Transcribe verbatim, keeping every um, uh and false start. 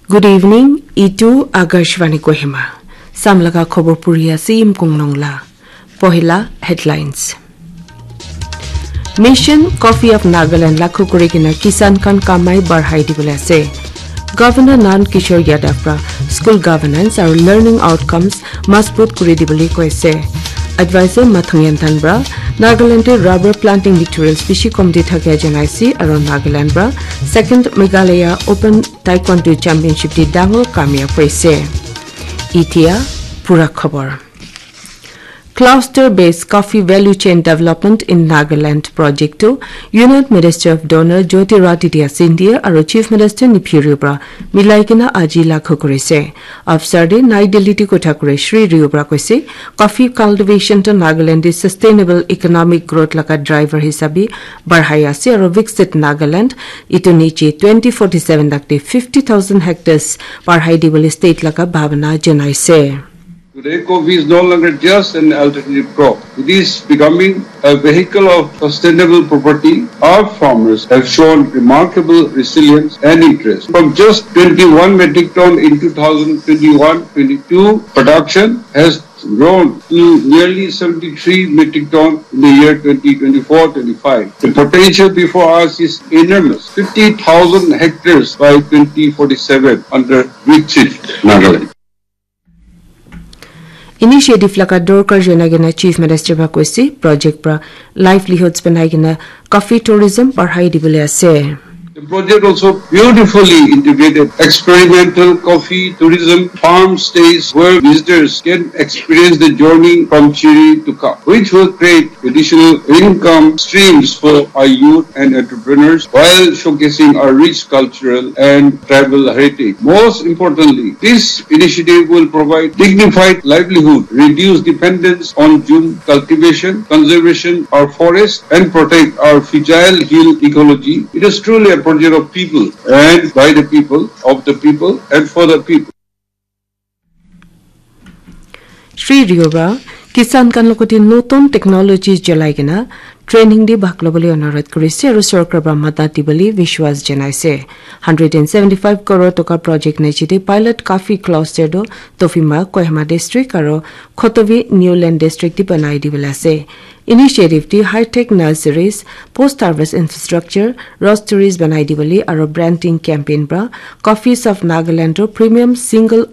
Good evening, itu Akashvani Kohima. Samlaga khobor puri ase Imkung Nongla. Pohila headlines. Mission Coffee of Nagaland lakhu kuri kena kisan khan kamai barhai dibole ase. Governor Nand Kishore Yadav pra school governance aru learning outcomes mazbut kuri dibole koise. Advisor Mathung Yanthan pra Nagaland te rubber planting materials bishi kom di thakia janaise aru Nagaland pra second Meghalaya Open Taekwondo Championship te dangor kamyab hoise. Itia pura khobor. Cluster Based Coffee Value Chain Development in Nagaland project to Union Minister of Donor Jyotiraditya Scindia aru Chief Minister Neiphiu Rio pra milai kena aji lakhu kurise. Afsar de Nai Delhi te kotha kure Shri Rio pra koise, coffee cultivation to Nagaland de sustainable economic growth laga driver hisabe barhai ase aru Viksit Nagaland itu niche twenty forty-seven tak te fifty thousand hectares barhai dibole state laga bhabana janaise. Today, coffee is no longer just an alternative crop. It is becoming a vehicle of sustainable property. Our farmers have shown remarkable resilience and interest. From just twenty-one metric ton in two thousand twenty-one twenty-two, production has grown to nearly seventy-three metric ton in the year twenty twenty-four twenty-five. The potential before us is enormous, fifty thousand hectares by twenty forty-seven under Viksit Nagaland. Initiative laga dorkar jana kena Chief Minister ba koise, project pra livelihoods banai kena coffee tourism barhai dibole ase. The project also beautifully integrated experimental coffee tourism farm stays where visitors can experience the journey from chiri to cup, which will create additional income streams for our youth and entrepreneurs while showcasing our rich cultural and tribal heritage. Most importantly, this initiative will provide dignified livelihood, reduce dependence on jhum cultivation, conservation our forests, and protect our fragile hill ecology. It is truly a project of people and by the people, of the people, and for the people. Shri Rio pra kisan khan logote notun technology cholai kena training de bhag lobole onurodh kurise aru sorkar pra madad dibole vishwas janaise. Hundred and seventy-five crore toka project niche de pilot coffee cluster do Tofima, Kohima district aru Khotovi, Niuland district de banai dibole ase. Initiative de high-tech nurseries, post-harvest infrastructure, roasteries banai dibole aru branding campaign pra Coffees of Nagaland to premium single